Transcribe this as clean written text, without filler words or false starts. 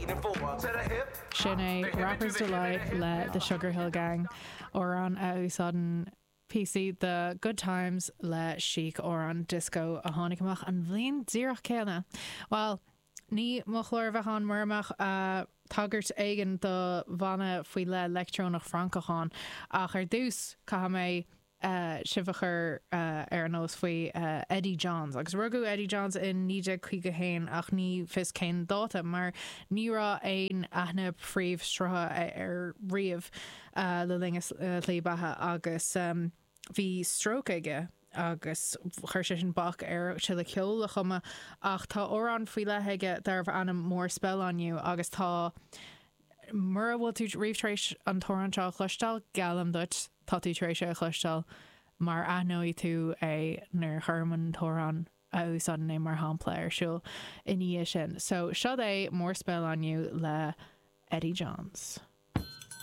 Sin é Rapper's Delight le The Sugar Hill Gang, amhrán a úsáideann píosaí de Good Times le Chic, amhrán dioscó a tháinig amach an bhliain díreach céanna. Bhuel, ní mo chlár a bheadh ann mura mbeadh tagairt éigin do bhanna faoi leith leictreonach Francach ann, ach ar dtús caithfidh mé sibh a chur ar an eolas faoi Eddie Johns. Agus rugadh Eddie Johns in 1951 ach ní fios cén dáta mar ní raibh aon aithne phríomhshrutha air riamh le linn a shlí beatha agus bhí stróc aige agus chuir sé sin bac air tuilleadh ceoil a chumadh ach tá amhrán faoi leith aige darbh ainm More Spell on You agus tá mura bhfuil tú riamh tar éis an t-amhrán seo a chloisteáil, geallaim duit, tá tú tar éis é a chloisteáil mar aithneoidh tú é nuair a chuirim an t-amhrán a úsáideann é mar shampla ar siúl ina dhiaidh sin. So, seo é More Spell on You le Eddie Johns.